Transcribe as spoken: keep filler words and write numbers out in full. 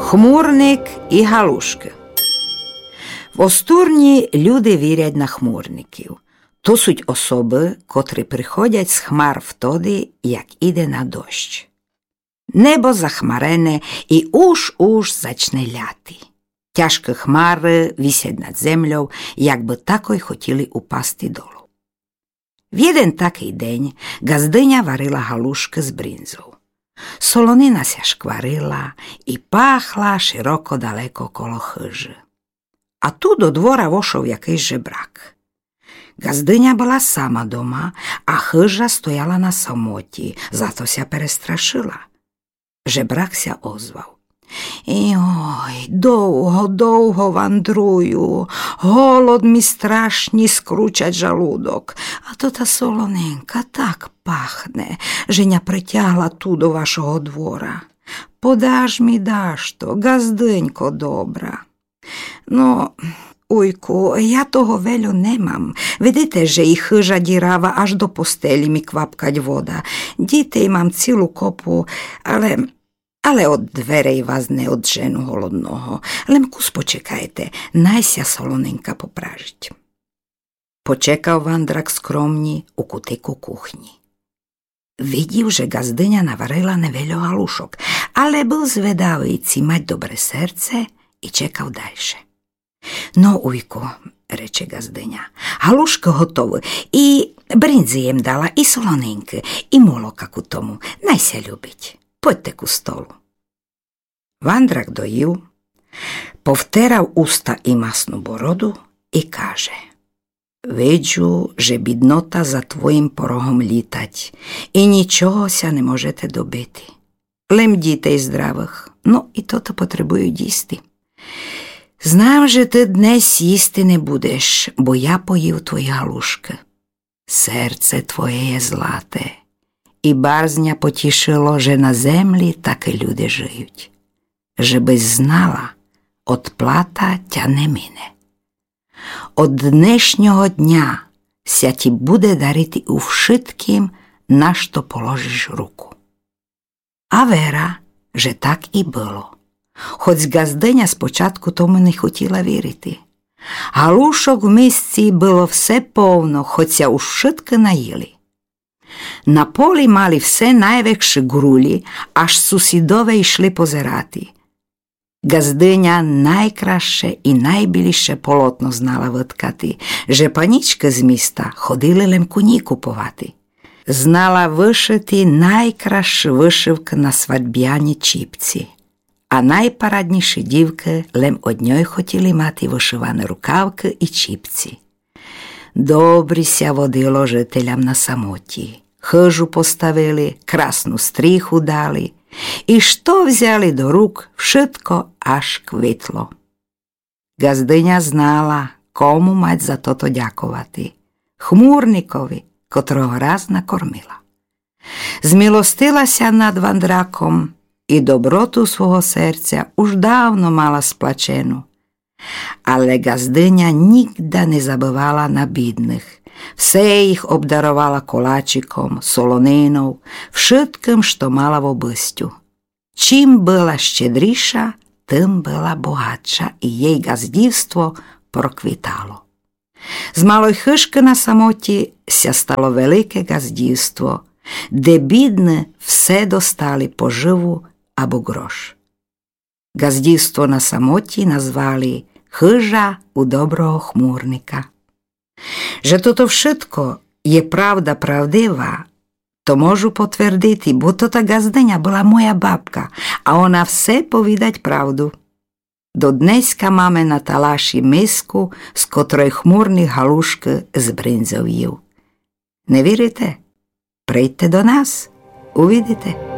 Хмурник и галушкы. В Остурнї люди вірять на хмурників. То суть особы, котры приходять з хмар втоды, як іде на дощ. Небо захмарене и уж-уж зачне ляти. Тяжкы хмары висять над землёв, як бы такой хотіли упасти долу. В єден такый день ґаздыня варила галушкы з бринзов. Солонина ся шкварила и пахла широко далеко коло хыжы. А ту до двора вошов якыйсь жебрак. Ґаздыня была сама дома, а хыжа стояла на самотї, зато ся перестрашыла. Жебрак ся озвав: Йой, довго, довго вандрую, голод ми страшні скручать жалудок, а то та солонинка так пахне, же ня притягла ту до вашого двора. Подаш ми дашто, ґаздынько добра. Но, уйку, я того вельо не мам. Видите, же и хыжа дірава, аж до постелї ми квапкать вода. Дітей мам цілу копу, але, але од дверей вас не оджену голодного. Лем кус почекайте, най ся солонинка попражить. Почекав вандрак скромнї у кутику кухнї. Видїв же ґаздыня наварила невельо галушок, але быв зведавий, ци мать добре серце, и чекав дальше. Но, уйку, рече ґаздыня, галушкы готовы, и бринзы єм дала, и солонинкы, и молока ку тому. Най ся любить. Подьте ку столу. Вандрак доїв, повтерав уста и масну бороду и каже: Виджу, же біднота за твоїм порогом лїтать, и нїчого ся не можете добити. Лем дїтей здравых, но и тото потребують їсти. Знам, же ты днесь їсти не будеш, бо я поїв твої галушкы. Серце твоє є злате, и барз ня потїшило, же на землї такы люде жиють. Же бысь знала, одплата тя не мине. Од днешнього дня ся тї буде дарити у вшытким, на што положиш руку. А вера, же так и было. Хоц ґаздыня спочатку тому не хотїла вірити. Галушок в мисцї было все повно, хоц ся уж вшыткы наїли. На полї мали все найвекши ґрулї, аж сусїдове йшли позерати. Ґаздыня найкрасше и найбіліше полотно знала выткати, же панїчкы з міста ходили лем ку нїй куповати. Знала вышыти найкрасши вышывкы на свадьбянї чіпцї, а найпараднїши дївкы лем од ньой хотїли мати вышываны рукавкы и чіпцї. Добрі ся водило жителям на самотї. Хыжу поставили, красну стріху дали, и што взяли до рук, вшытко аж квитло. Ґаздыня знала, кому мать за тото дяковати: хмурникови, котрого раз накормила. Змилостила ся над вандраком и доброту свого серця уж давно мала сплачену. Але ґаздыня нїґда не забывала на бідных. Все їх обдаровала колачиком, солонинов, вшыткым, што мала в обыстю. Чим была щедріша, тым была богатша, и єй ґаздївство проквитало. З малой хыжкы на самотї ся стало велике ґаздївство, де бідны все достали поживу або ґрош. Ґаздївство на самотї назвали хыжа у доброго хмурника. Же тото вшытко є правда правдива, то можу потвердити, бо тота ґаздыня была моя бабка, а она все повідать правду. До днеська маме на талашї миску, з котрой хмурник галушкы з бринзов їв. Не вірите? Прийдьте до нас, увидите.